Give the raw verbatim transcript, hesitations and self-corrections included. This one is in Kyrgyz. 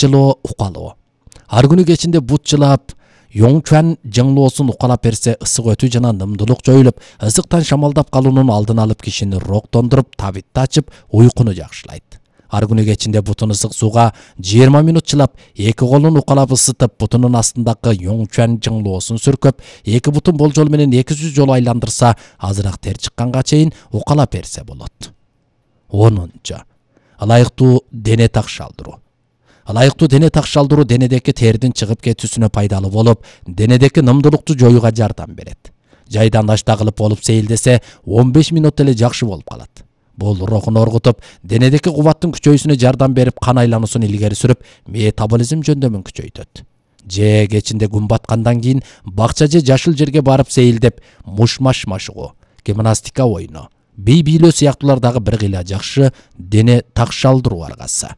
жылоо укалоо. Ар күнү кечинде бут жылап, Йоңчуан жаңлоосун укалап берсе, ысык өтүү жана нымдуулук жоюлуп, ысыктан шамалдап калуунун алдын алып, кишини роктондуруп, табитти ачып, уйкуну жакшылайт. Ар күнү кечинде бутун ысык сууга жыйырма минут чылап, эки колун укалап ысытып, бутунун астындагы Йоңчуан жаңлоосун сүркөп, эки бутун болжол менен эки жүз жолу айландырса, азыраак тер чыкканга чейин укалап берсе болот. онунчу. Ылайыктуу дене такшалдыруу. Ылайыктуу дене такшалдыруу денедеки тердин чыгып кетүүсүнө пайдалуу болуп, денедеки нымдуулукту жоюуга жардам берет. Жайдан дашта кылып болуп сейилдесе, он беш минут эле жакшы болуп калат. Бул рухун оргутуп, денедеки кубаттын күчөйүүсүнө жардам берип, кан айлануусун илгери сүрүп, метаболизм жөндөмүн күчөйтөт. Же кечинде күн баткандан кийин бакча же жашыл жерге барып сейилдеп, муш-маш машыгуу, гимнастика ойну, бий бийлөө сыяктуулар дагы бир кыйла жакшы дене такшалдыруу аргасы.